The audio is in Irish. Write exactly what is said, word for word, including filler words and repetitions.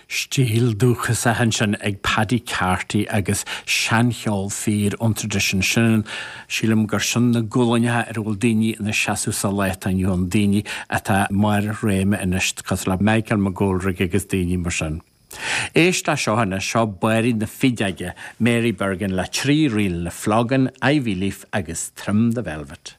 Stíl dúchasach ansin ag Paddy Carty agus seancheol fíor ón traidisiún sin sílim gur sin na gualainneacha ar a bhfuil daoine ina seasamh sa lá atá inniu ann daoine atá i mbarr réime anois cosúil le Michael McGoldrick agus daoine mar sin. Éist le seo anois seo Báirín na Fideoige, Mary Bergin le trí ríl na Flogan, Ivy Leaf agus Trim the Velvet.